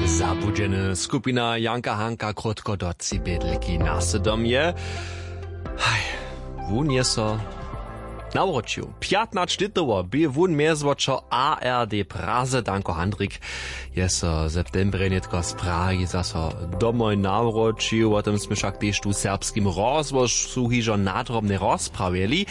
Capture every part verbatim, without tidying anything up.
Zabudźeny skupina Janka Hanka krótko do cibědliki nasydom je. Haj, wón je so nawróćił. Pjatnaćlětowo bě wón mjezwočo A R D Praze. Danko Handrik je so w septembrje nětko z Prahi zaso domoj nawróćił. Wo tym smy wšak tež tu w serbskim rozhłosu hižo nadrobnje rozprawjeli.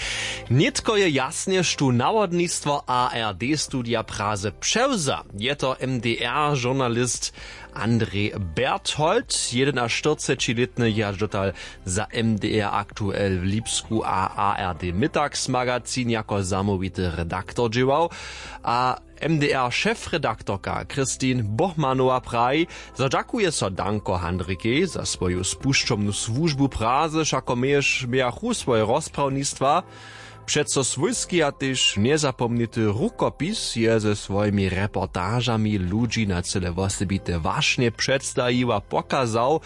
Nětko je jasnje, štó nawodnistwo A R D studija Praze přewza. Je to M D R žurnalist Andrej Berthold, jedenaštyrcećilětny, je hač dotal za M D R aktuel w Lipsku a A R D Mittagsmagazin jako zamołwity redaktor dźěłał. A M D R šefredaktorka Christine Bohmanowa praji, zo dźakuje so Danko Handrikej za swoju spušćomnu słužbu Praze, wšako měješ, mějachu swoje rozprawnistwa. Přeco swójski a tež njezapomnity rukopis je ze swojimi reportažami ludźi na cyle wosebite wašnje předstajił a pokazał,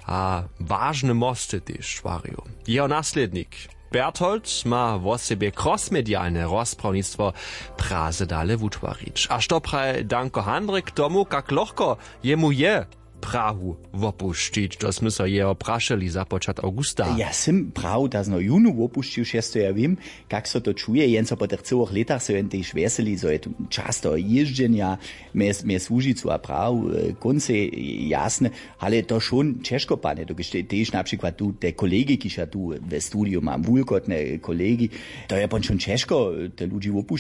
a wažne mosty tež stwarił. Jeho naslědnik Berthold ma wosebje krosmedialne rozprawnistwo Praze dale wutwarić. A što praji Danko Handrik k tomu, kak lochko jemu je Prahu wopušćić? To smy so jeho prašeli započat awgusta. Ja sym Prahu tazno junu wopušćił, šesto ja wěm, kak so to čuje. Jen so po tych cyłych lětach so jen tež wjeseli, zo je tu často jězdźenja mjez, mjez Łužicu a Prahu, e, kóncej jasne. Ale to wšón ćežko, panje, dokelž te-, tež na přikład tu te kolegi, kiž ja tu we studiju mam, wulkotne kolegi, to je pon wšón ćežko, te ludźi wopušćić.